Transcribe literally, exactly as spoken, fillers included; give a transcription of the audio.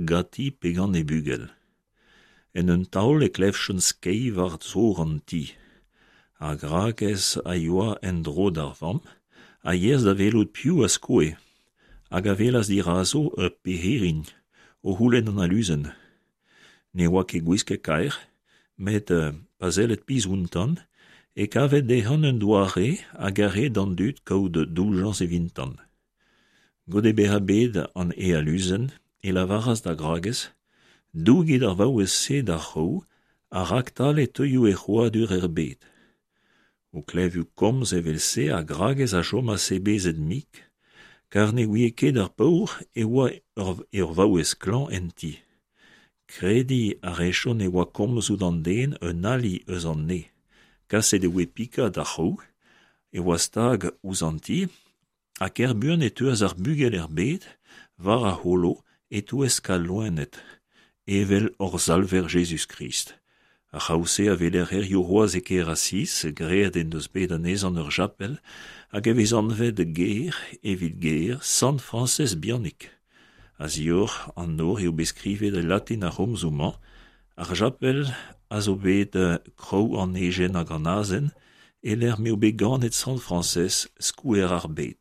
ganti pe gant he bugel. En un taol e klevjont skeiñ war zor an ti. Ar gragez a yoa en-dro d'ar vamm a yeas da welout piv a skoe hag a welas dirazo ur pirc'hirin o c'houlenn an aluzen. Ne oa ket gwisket kaer, met pa selled pizh outañ e kaved dezhañ un doare hag a rae d'an dud kaout doujañs evitañ. Goude bezañ bet an e aluzen e lavaras d'ar gragez: Dougit ar vaouez-se d'ar c'hraou ha raktal e teuio he c'hrouadur er bed. O klevout komz evel-se ar gragez a chomas sebezet-mik, kar ne ouie ket ar paour e oa ur vaouez klañv en ti. Krediñ a rejont e oa komzoù d'an den un ali eus an neñv. Kaset e voe pikañ d'ar c'hraou e oa stag ouzh an ti ha ker buan e teuas ar bugel er bed war ar c'holo e-touesk al loened, evel hor Salver Jezuz-Krist. Ar c'hraou-se a weler hiziv c'hoazh e kêr Asiz, graet en deus bet anezhañ ur chapel hag e vez anvet ger evit ger Sant Frañsez Bihanik. A-zioc'h an nor eo bet skrivet e latin ar c'homzoù-mañ: Ar chapel a zo bet kraou an ejen hag an azen e-lec'h m'eo bet ganet Sant Frañsez, skouer ar bed.